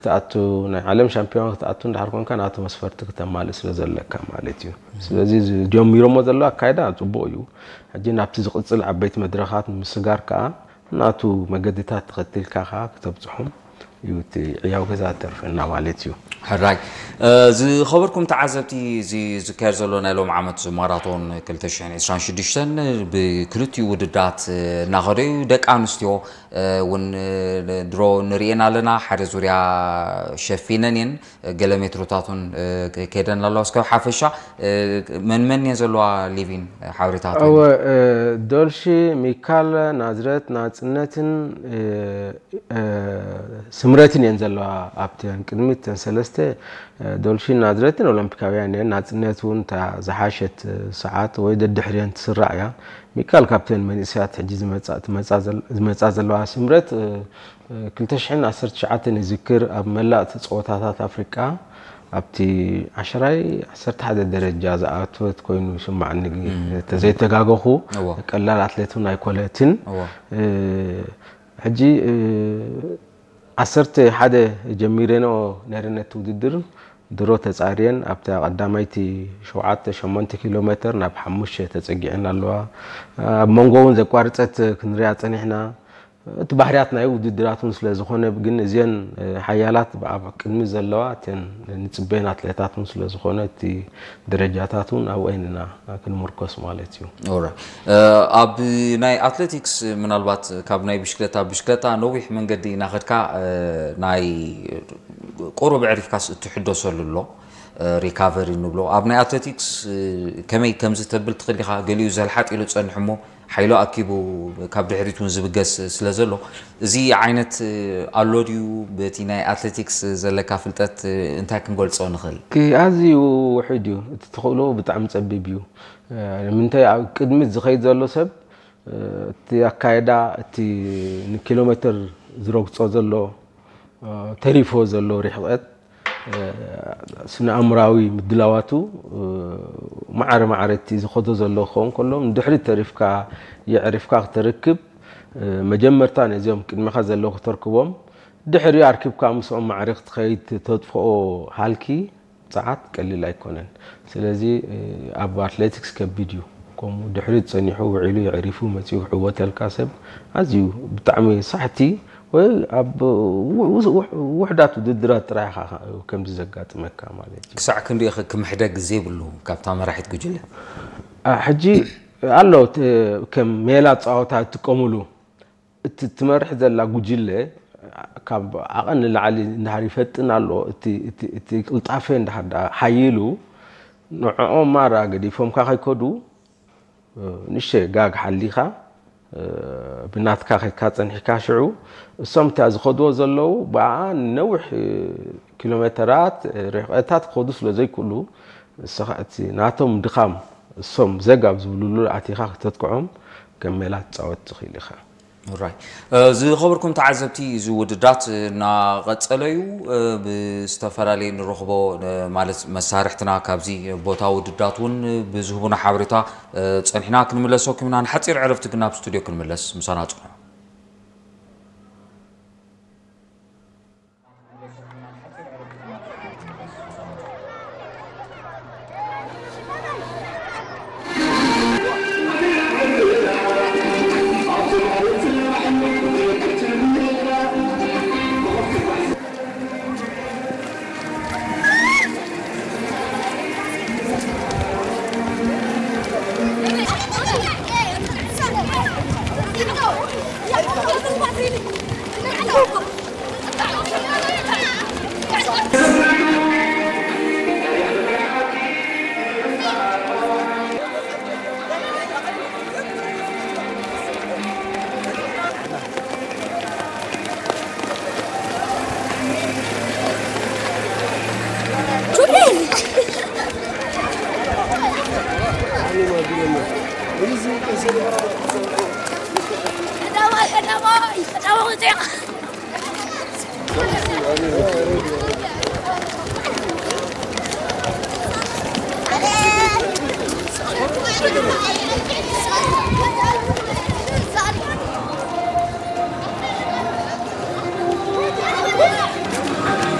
ክትኣቱ፣ ናይ ዓለም ሻምፒዮን ክትኣቱ እንድሕር ኮንካ ናቱ መስፈርቲ ክተማልእ ስለ ዘለካ ማለት እዩ። ስለዚ እዚ ጀሚሮሞ ዘለዉ ኣካይዳ ጽቡቕ እዩ። ሕጂ ናብቲ ዝቕጽል ዓበይቲ መድረኻት ምስጋር ከኣ ናቱ መገድታት ተኸቲልካ ከኣ ክተብጽሖም እዩ እቲ ዕያው ገዛ ተርፈና ማለት እዩ። ሕራይ። ዝኸበርኩም ተዓዘብቲ፣ እዚ ዝካየድ ዘሎ ናይ ሎም ዓመት ማራቶን ክልተ ሽሕን ዕስራን ሽዱሽተን ብክልቲኡ ውድዳት እናኸደ እዩ። ደቂ ኣንስትዮ እውን ድሮ ንርእየን ኣለና። ሓደ ዙርያ ሸፊነን እየን፣ ገለ ሜትሮታት እውን ከይደን ኣለዋ። እስከ ሓፈሻ መን መን እየን ዘለዋ ሊቪን ሓበሬታት? እወ፣ ዶልሺ፣ ሚካል፣ ናዝረት፣ ናጽነትን ስምረትን እየን ዘለዋ። ኣብተን ቅድሚት ተን ሰለስተ፣ ዶልሺን ናዝረትን ኦሎምፒካውያን እየን። ናጽነት እውን እታ ዝሓሸት ሰዓት ወይ ደድሕሪየን ትስራዕ እያ። ሚካል ካብተን መንእሰያት ሕጂ ዝመጻ ዘለዋ። ስምረት ክልተ ሽሕን ዓሰርተ ትሽዓተን ይዝክር፣ ኣብ መላእ እቲ ጸወታታት ኣፍሪቃ ኣብቲ ዓሸራይ ዓሰርተ ሓደ ደረጃ ዝኣተወት ኮይኑ ይስማዓኒ፣ ተዘይተጋገኹ። ቀላል ኣትሌት እውን ኣይኮነትን። ሕጂ ዓሰርተ ሓደ ጀሚረንኦ ነይረ ነቲ ውድድር፣ ድሮ ተጻርየን ኣብታ ቀዳማይቲ ሸውዓተ ሸሞንተ ኪሎ ሜትር ናብ ሓሙሽተ ተጸጊዐን ኣለዋ። ኣብ መንጎ እውን ዘቋርጸት ክንሪኣ ጸኒሕና። እቲ ባህርያት ናይ ውድድራት እውን ስለ ዝኾነ፣ ግን እዚአን ሓያላት ኣብ ቅድሚ ዘለዋ እተን ንጽበየን ኣትሌታት እውን ስለ ዝኾነ፣ እቲ ደረጃታት እውን ኣብአን ኢና ክንምርኮስ ማለት እዩ። ኣብ ናይ ኣትሌቲክስ ምናልባት ካብ ናይ ብሽክለታ፣ ብሽክለታ ነዊሕ መንገዲ እናኸድካ ናይ ቁሩብ ዕሪፍካስ እትሕደሰሉ ኣሎ፣ ሪካቨሪ ንብሎ። ኣብ ናይ ኣትሌቲክስ ከመይ ከምዚ ተብል ትኽእል ኢኻ? ገሊኡ ዘልሓጥ ኢሉ ጸንሕ እሞ ሓይሉ ኣኪቡ ካብ ድሕሪት እውን ዝብገስ ስለ ዘሎ፣ እዚ ዓይነት ኣሎ ድዩ? በቲ ናይ ኣትሌቲክስ ዘለካ ፍልጠት እንታይ ክንገልጾ ንኽእል? ኣዝዩ ውሑድ እዩ። እቲ ትኽእሎ ብጣዕሚ ጸቢብ እዩ። ንምንታይ ኣብ ቅድሚት ዝኸይድ ዘሎ ሰብ እቲ ኣካየዳ፣ እቲ ንኪሎ ሜትር ዝረግጾ ዘሎ፣ ተሪፎ ዘሎ ርሕቐት፣ ስነ ኣእምራዊ ምድላዋቱ ማዕረ ማዕረ እቲ ዝኸዶ ዘሎ ክኸውን ከሎ፣ ንድሕሪት ተሪፍካ የዕሪፍካ ክተርክብ፣ መጀመርታ ነዚኦም ቅድሚኻ ዘለዉ ክተርክቦም፣ ድሕሪኡ ኣርኪብካ ምስኦም ማዕረ ክትኸይድ ተጥፍኦ ሃልኪ ጸዓት ቀሊል ኣይኮነን። ስለዚ ኣብ ኣትሌቲክስ ከቢድ እዩ። ከምኡ ድሕሪት ጸኒሑ ውዒሉ የዕሪፉ መጺኡ ክዕወተልካ ሰብ ኣዝዩ ብጣዕሚ ሳሕቲ ወይ ኣብ ውሕዳት ውድድራት ጥራይ ኢኻ ከምዚ ዘጋጥመካ ማለት እዩ። ክሳዕ ክንሪኦ ክምሕደግ ዘይብሉ ካብታ መራሒት ጉጅለ። ሕጂ ኣሎ ከም ሜላ ጸወታ እትጥቀሙሉ እቲ ትመርሕ ዘላ ጉጅለ ካብ ዓቐን ንላዕሊ እንድሕር ይፈጥን ኣሎ፣ እቲ ቅልጣፈ እንድሕር ደኣ ሓይሉ ንዕኦም ማራ ገዲፎምካ ከይከዱ ንእሽተይ ጋግ ሓሊኻ ብናትካ ከይካ ጸኒሕካ ሽዑ እሶም እታ ዝኸድዎ ዘለዉ ብኣ ነዊሕ ኪሎ ሜተራት ርሕቐታት ክኸዱ ስለ ዘይክእሉ ንስኻ እቲ ናቶም ድኻም እሶም ዘግ ኣብ ዝብልሉ ኣቲኻ ክተጥቅዖም ከም ሜላ ትጻወት ትኽእል ኢኻ። ራይ ዝኸበርኩም ተዓዘብቲ እዚ ውድዳት እናቐጸለ እዩ። ብዝተፈላለየ ንረኽቦ ማለት መሳርሕትና ካብዚ ቦታ ውድዳት እውን ብዝህቡና ሓበሬታ ጸኒሕና ክንምለሰኩም ኢና። ንሓፂር ዕረፍቲ ግን ናብ ስቱድዮ ክንምለስ ምሳና ጽኑ።